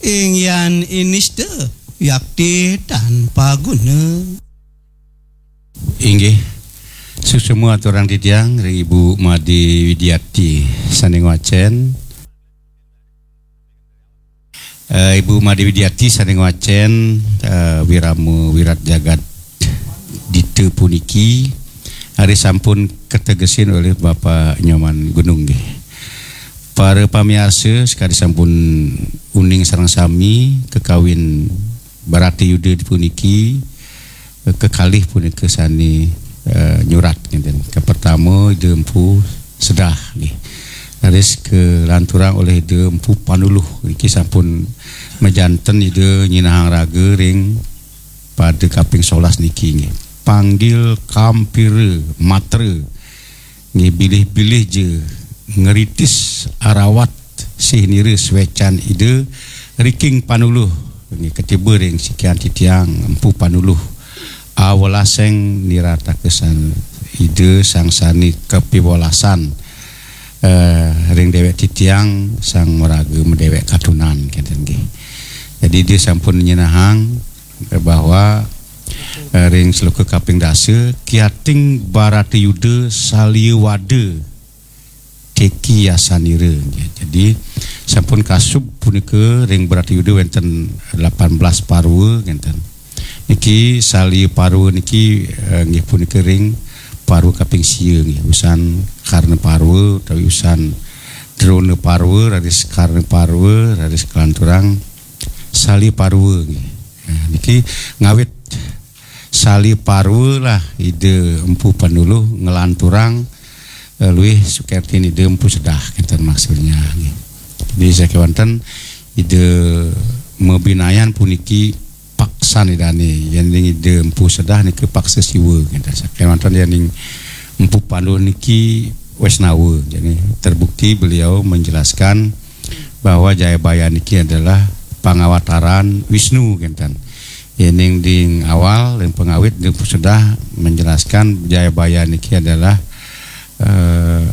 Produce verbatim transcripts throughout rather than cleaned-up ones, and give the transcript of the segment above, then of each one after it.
Inggian inista yakti tanpa guna. Inggih, suksma aturang titiang ring Ibu Made Widiati sane ngwacen. Eh, Ibu Made Widiati sane ngwacen, eh, wirama wirat jagat dita puniki, ari sampun kategesin olih Bapak Nyoman Gunung nggih. Para pamiarsa, sakadi sampun uning sareng sami, kakawin Bharata Yuda puniki, eh, kekalih punika sane, eh, nyurat ngenten. Kapertama Ida Empu Sedah nggih. Raris kalanturang olih Ida Empu Panuluh. Niki sampun majanten Ida nyinahang raga ring pada kaping solas niki nggih. Panggil kampira matra nggih, bilih-bilih ja ngritis arawat sih nira swecan Ida Riking Panuluh nggih, katiba ring sikian titiang Empu Panuluh. Awelaseng nirataka san Ida sang sane kapiwelasan, eh, ring dewek titiang sang maraga madewek katunan kenten nggih. Jadi dia sampun nyinahang, eh, bahwa, eh, ring sloka kaping dasa, kiating Bharata Yuda salia wada teki yasanira. Jadi sampun kasub punika ring Bharata Yuda wenten lapan belas parwa ngenten. Niki salia parwa niki, eh, nggih punika ring parwa kaping sia nggih, usan Karna Parwa utawi usan Drona Parwa, raris Karna Parwa, raris kalanturang salia parwa nggih. Nah, niki ngawit salia parwa lah Ida Empu Panuluh nglanturang, eh, luih sukertin Ida Empu Sedah, kenten maksudnya nggih. Jadi sakewanten Ida mabinayan puniki paksan Idane, yening Ida Empu Sedah niki paksa Siwa, kenten. Sakewanten yening Empu Panuluh niki Wesnawa. Jadi terbukti beliau menjelaskan bahwa Jayabaya niki adalah pangawataran Wisnu, kenten. Yening ding awal, ding pangawit, ding sudah menjelaskan Jayabaya niki adalah, eh,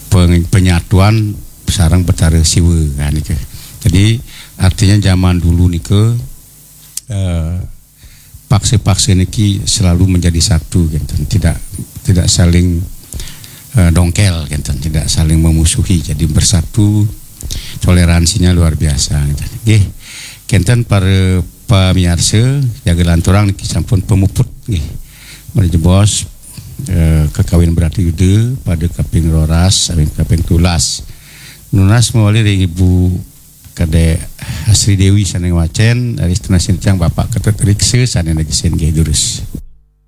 peng-, penyatuan sareng Betara Siwa, nah, nika. Jadi artinya zaman dulu nika, eh, paksa-paksa niki selalu menjadi satu, kenten. Tidak, tidak saling, eh, dongkel, kenten, tidak saling memusuhi. Jadi bersatu, toleransinya luar biasa, kenten. Nggih, kenten para pamiarsa, jaga lanturang niki sampun pamuput nggih. Mari jebos, eh, kakawin Bharata Yuda pada kaping roras, kaping, kaping tulas. Nunas mawali ring Ibu Kadek Sri Dewi sane ngwacen, raris tunas titiang Bapak Ketut Riksa sane negesin nggih durus.